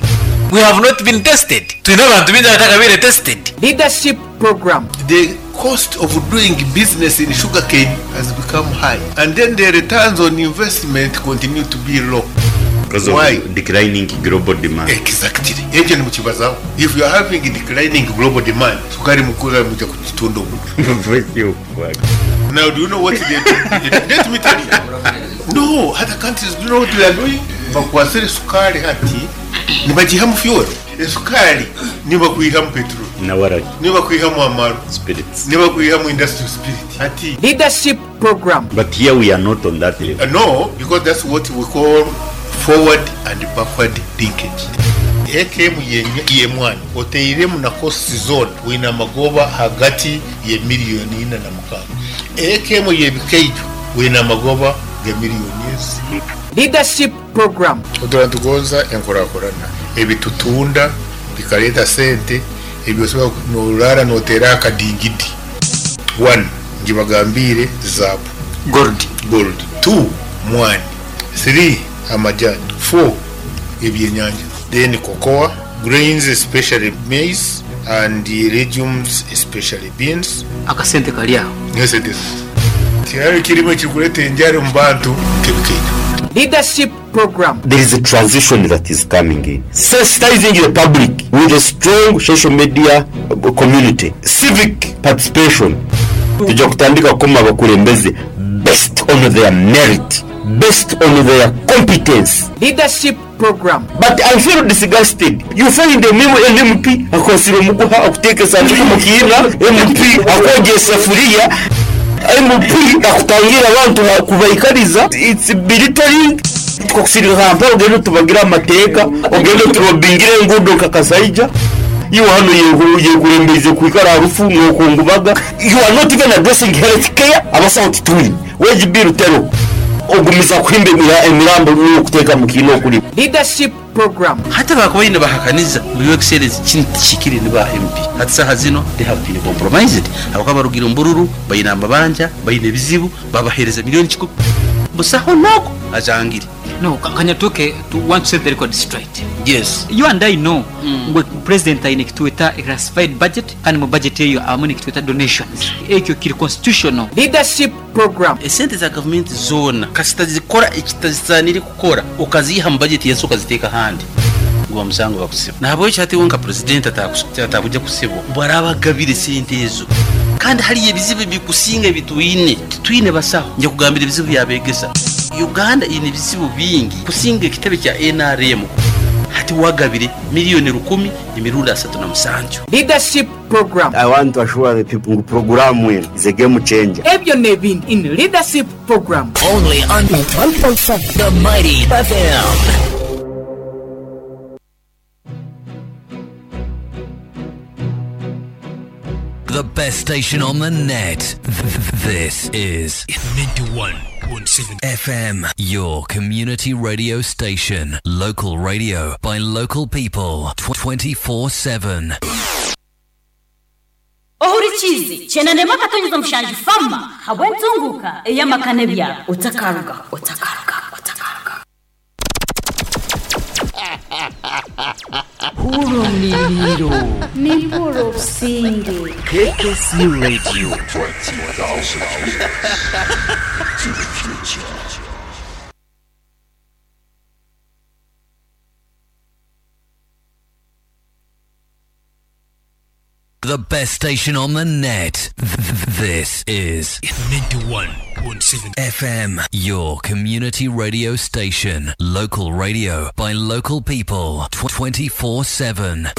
we have not been tested twine abantu baingi abatakabaire tested. Leadership Program. The cost of doing business in sugarcane has become high and then the returns on investment continue to be low. Because of Why? declining global demand. Exactly. Ekyo nimukibazaho. If you are having declining global demand, sukari mukura muja kugitunda omu. Now do you know what they do? Let me tell you. No, other countries do you know what they are doing? Bakwasire sukari hati nibagihamu fuel. Esukari nibakwihamu petrol. Na waragi. Nibakwihamu amaru. Spirits. Nibakwihamu industrial spirit. Hati Leadership Program. But here we are not on that level. No, because that's what we call forward and backward linkage. AKM y'emwani oteiremu na cost zone wine amagoba hagati ye miliyoni ina na mukaaga. AKM y'ebikaijo wine amagoba ga miliyoni ezi. Leadership Program. Otura nitugonza enkurakurana ebitutunda bikareeta sente ebi osobola norara noteera akadingidi. One, ngibagambiire zaabu. Gold. Gold. Two, mwani. Three, amajani. Four, ebyenyanja. Then cocoa, grains especially maize and legumes especially beans. Akasente kari aho. Nesente. Tihariho ekirimu ekirikureeta enjara omu bantu nk'ebikaito. Leadership Program. There is a transition that is coming in. Sensitizing the public with a strong social media community. Civic participation. Twija kutandika kukoma abakurembeze based on their merit, based on their competence. Leadership Program. But I feel disgusted. You find a an MP akwasire omuguha akuteeka esanduku omu kiina, MP akwogya esafuriya, MP akutangira abantu kubaikariza. It's belittling. Tukakusindika Kampala ogende otubagire amateeka, ogende oturobingire enguudo nka Kasaija. Iwe hanu oyekurembeize kwikara aha rufu nokungubaga. You are not even addressing health care, abasaho titwine. Wage bill teriho. Ogumiza kuhimba emirambo n'okuteeka omu kiina okurimu. Leadership Program. Hati bakubaire nibahakaniza ngu Your Excellency kinu tikihikire ni ba MP. Hati saaha zinu they have been compromised ahabw'okuba barugire omu bururu, baine amabanja, baine ebizibu, babaheereza million kikumi. Busaho n'ogwo ajangire. No, kanyatuke to want to set the record straight. Yes. You and I know ngu president aine ekitweta classified budget kandi mu budget eyo abamu nekitweta donations. Ekyo kiri constitutional. Leadership Program. Esente za gavumenti zoona kasita zikora ekitazisaanire kukora okaziiha mu bajeti y'ensi okaziteeka ahandi guba musango bakusiba. Nahabwekyo hati iwe nka purezidenti ataakugya kusibwa obu araaba agabire esente ezo. Kandi hariyo ebizibu ebikusinga ebi twine. Titwine basaho. Nja kugambira ebizibu by'abeegesa. Uganda eine ebizibu bingi kusinga ekitebe kya nrm. Hati wagabire miriyoni rukumi emirundi 37. Leadership Program. I want to assure the people ngu puroguraamu enu is a game changer. Ebyo n'ebindi in Leadership Program. Only on 1.7 The Mighty FM. The best station on the net. This is 91.7 FM, your community radio station. Local radio by local people 24/7. Ohurikiize, kyenda n'emwe akatonyeza mushanju fama habw'entunguka ey'amaka n'ebyaro. Otakarugaho, otakarugaho, otakarugaho. Hurra omuriiro. Nimpurira obusinge. KKC Radio. To the future. The best station on the net. This is 91.7 FM, your community radio station. Local radio by local people 24/7.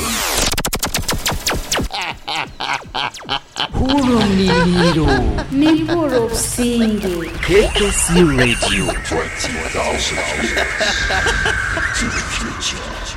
Hurra omuriiro. Nimpurira obusinge. KKC Radio. 20,000 to the future.